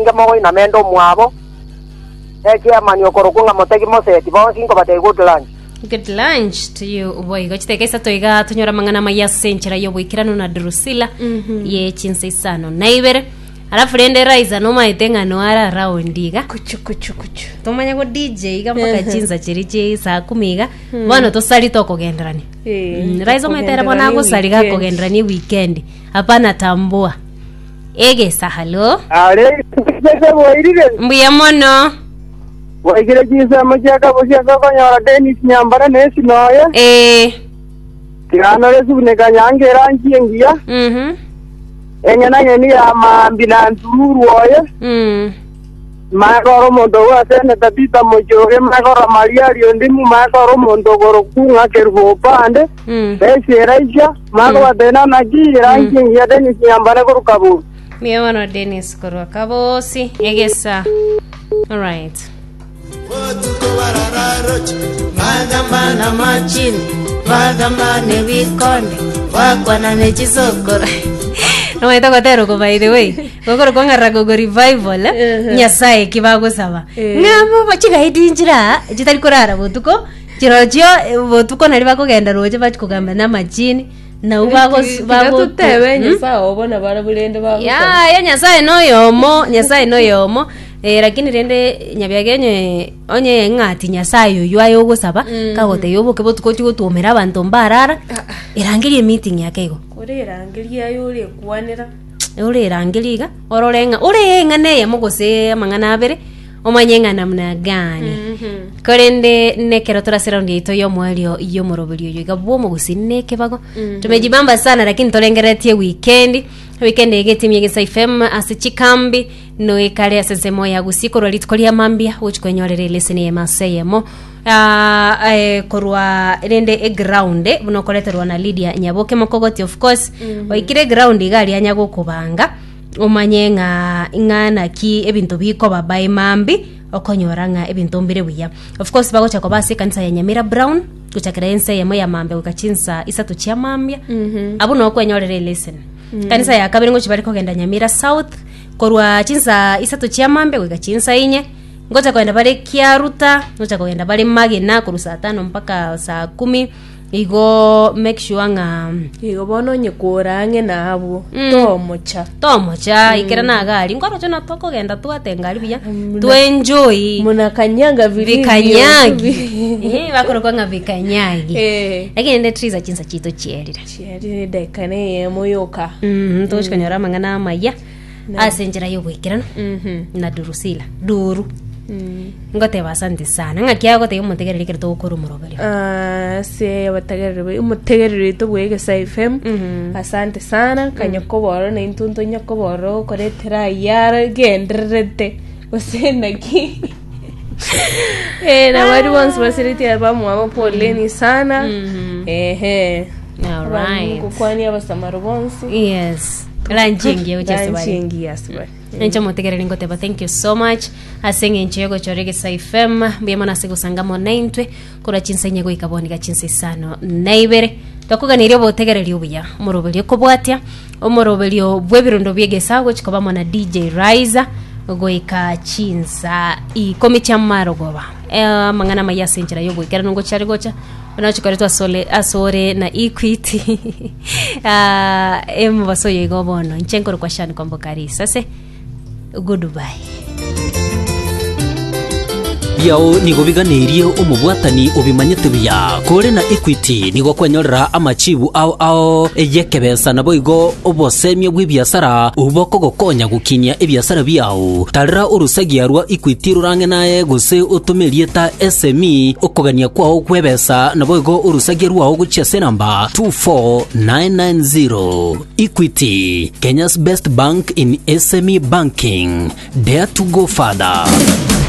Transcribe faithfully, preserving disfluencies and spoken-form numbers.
Mosinge mogoina mende omwabo echiamani okorokwa ng'a motegi moseti bonsi nkobatebia good lunch. Good lunch to you boigo chiteka isato iga tonyora amang'ana amaya ase enchera ya oboikeranu na Drusilla ye chinsa isano na ibere alafu rende Raiza nomaete ng'a noara round iga. Kuchu kuchu kuchu. Tomanye go D J iga mpaka chinsa chiri chi saa kumi iga bono tosari tokogenderania. Eh, Mm, Raiza omaete ere bono tokogenderania agosari weekend. gakogenderania weekend hapana tambua egesa halo. Are bwairire. Mbuya mono. Bwaigire chinsemo chia kabosi ase okonyora Dennis Nyambara na esinoye. Eh. Tiganore subuneka nyange erangi engiya. Mhm. Eng'enang'eni ya maambi na ntururu oye. Mm. Makoro omonto ogwa seneta Peter Muchoge makoro Maria Riondimu makoro omonto ogorokung'a Kerubo opande. Mm. Esi Eraisha makobatena naki erangi engiya Dennis Nyambara korwa Kabosi. Mbuya mono Dennis korwa Kabosi egesa. All right. Bagambana machini, bagambane bikonde, bakwanane chisokoro. Nomaete gotera oko, by the way gokoro kwang'arra gogo revival eh? Nyasaye ki bagosaba Eh. ng'abo chigaidi nchira chitari korara botuko chirochio eh, botuko nari bakogenda roche bachi kogamba na machini nau bagos- Tiga bago- tutebe Hmm? Nyasaye obo na barabwo rende bagosaba. Ya ya Nyasaye noyomo, Nyasaye noyomo eh, lakini rende nyabiagenye onye ng'ati Nyasaye oyo aye ogosaba kagotebia oboke botuko ochi gotwomera abanto mbarara erangerie meeting yake igo. Kore erangeria aye orekwanera. Ore erangeria iga orore ng'a ore eng'ana eyemo gose amang'ana abere omanye ng'a namna gani korende nekero torase round yaito y'omwerio y'omoroberi oyo iga bw'omogusi nekebago tumejibamba sana, lakini torengeretie weekend weekend egetimia Gesa F M ase chikambi noekare ase ensemo ya Gusii korwa rituko ria mambia gochi kwenyorera eleseni eyemo ase eyemo. Ah, eh, korwa rende eground buna okoreterwa na Lydia Nyaboke Mokogoti, of course oikire eground iga aria anya gokobanga omanye ng'a ng'a naki ebinto bikoba by mambi okonyora ng'a ebinto mbire buya. Of course bagocha koba ase ekanisa ya Nyamira Brown gochakera ense eyemo ya mambia goika chinsa isato chia mambia abwo nokwenyorera eleseni. Kanisa ya kabere ngochi bari kogenda Nyamira South korwa chinsa isato chia mambia goika chinsa inye, ngocha kogenda bare Kiaruta, ngocha kogenda bare Magena korwa saa tano mpaka saa kumi. Igo make sure ng'a Igo bono onye kora ang'e na abwo Mm. tomocha. Tomocha ikera na gari nkorocho na tokogenda twatenga ari buya Muna- twenjoy. Munakanyanga vilivyo. Vikanyagi. Eh, bakorokwa ng'a vikanyagi. Eh. Lakini ende triza chinsa chito chierire. Chiarire dakika neyemo yoka. Mhm, togochikonyora amang'ana amaya ase enchera y'oboikerano Mhm. na Durusila duru. Mm. Ngoteba asante sana ng'aki agotebia omotegereri ekero togokora omoroberio. Ah, ase abategereri omotegereri oito bwa Egesa F M, Mhm. asante sana kanya koboro na intwe ntonya koboro okoretera ayara gendererete gose naki. Eh, na bari bonsi basiriti bamwabo poleni sana. Mhm. Ehe. Alright. Gokwani abasamaro bonsi. Yes, lanchingi gochia Lanchingi asibari. Enche motegereri ngoteba thank you so much ase eng'encho yogochora Egesa F M. Mbuya mono ase gosangamo naintwe korwa chinsa inye goika boniga chinsa isano na ibere. Tokoganiria obotegereri obuya omoroberio okobwatia omoroberio bw'ebirondo bia egesa gochi kobamo na D J Riser goika chinsa ikomi chia marogoba. Eh, amang'ana maya ase enchera yogoikeranu ngochiari gocha onochikoretwa asole asore na Equity. Ah, emobaso oyo igo bono inche nkorokwa Shani Kwamboka Risase. Goodbye. Biao nigo biganeirie omobwatani obimanyete buya kore na Equity nigo kwenyorera amachibu ao ao eyekebesa nabo igo obosemia bwa ebiasara obo kogokonya gukinia ebiasara biao. Tarera orusagia rwa Equity rurange naye gose utumirie ta S M E okogania kwao kwebesa nabo igo orusagia rwao guchia se namba two four nine nine zero. Equity, Kenya's best bank in S M E banking. Dare to go further.